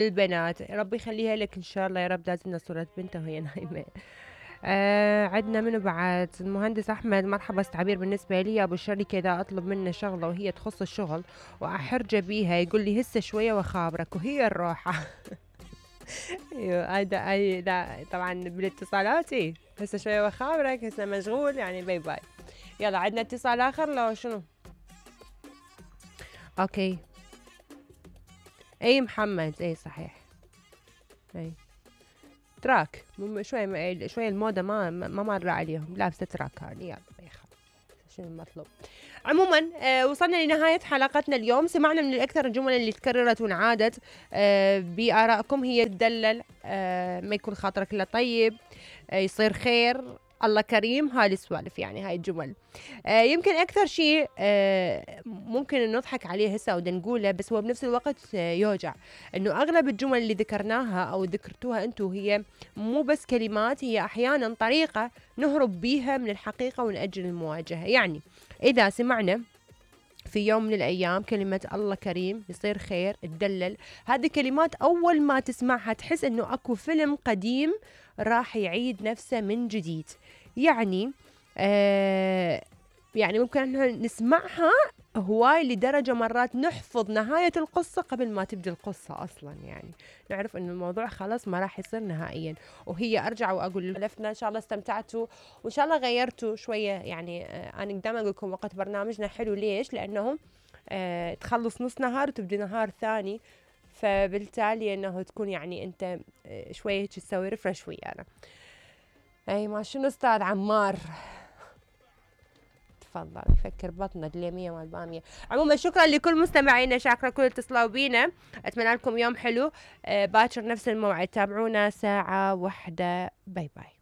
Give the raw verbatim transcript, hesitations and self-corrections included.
البنات ربي يخليها لك ان شاء الله يا رب. لازم صورة بنتها وهي نايمة. آه عندنا منو بعد؟ المهندس احمد، مرحبا استعبير بالنسبه لي ابو الشركه اذا اطلب منه شغله وهي تخص الشغل واحرجه بيها يقول لي هسه شويه واخابرك وهي الروحه. ايوه هذا اي طبعا بالاتصالات ايه هسه شويه واخابرك، هسه مشغول يعني باي باي. يلا عندنا اتصال اخر لو شنو؟ اوكي اي محمد اي صحيح اي تراك شوي شوي الموضة ما ما مر عليهم، لابسة تراك هذه. يلا شنو المطلوب؟ عموما آه وصلنا لنهاية حلقتنا اليوم. سمعنا من الأكثر الجمل اللي تكررت وانعادت آه بآرائكم هي تدلل، آه ما يكون خاطرك إلا طيب، آه يصير خير، الله كريم، هاي السوالف يعني هاي الجمل. آه يمكن أكثر شيء آه ممكن نضحك عليه هسه أو نقوله، بس هو بنفس الوقت آه يوجع إنه أغلب الجمل اللي ذكرناها أو ذكرتوها أنتو هي مو بس كلمات، هي أحيانا طريقة نهرب بيها من الحقيقة ونأجل المواجهة. يعني إذا سمعنا في يوم من الأيام كلمة الله كريم، يصير خير، تدلل، هذه كلمات أول ما تسمعها تحس إنه أكو فيلم قديم راح يعيد نفسه من جديد. يعني آه يعني ممكن إنه نسمعها هواي لدرجة مرات نحفظ نهاية القصة قبل ما تبدأ القصة أصلا، يعني نعرف إنه الموضوع خلاص ما راح يصير نهائيا. وهي أرجع وأقول لفنا إن شاء الله استمتعتوا وإن شاء الله غيرتوا شوية. يعني آه أنا دائما أقول لكم وقت برنامجنا حلو ليش؟ لأنه آه تخلص نص نهار وتبدأ نهار ثاني، فبالتالي إنه تكون يعني أنت آه شوية تسوي ريفرش ويانا. أي ما شنو أستاذ عمار تفضل يفكر بطنه اليمية مال بامية. عموما شكرا لكل مستمعينا، شاكرة كل اتصلوا بينا، اتمنى لكم يوم حلو. آه باكر نفس الموعد تابعونا ساعة واحدة. باي باي.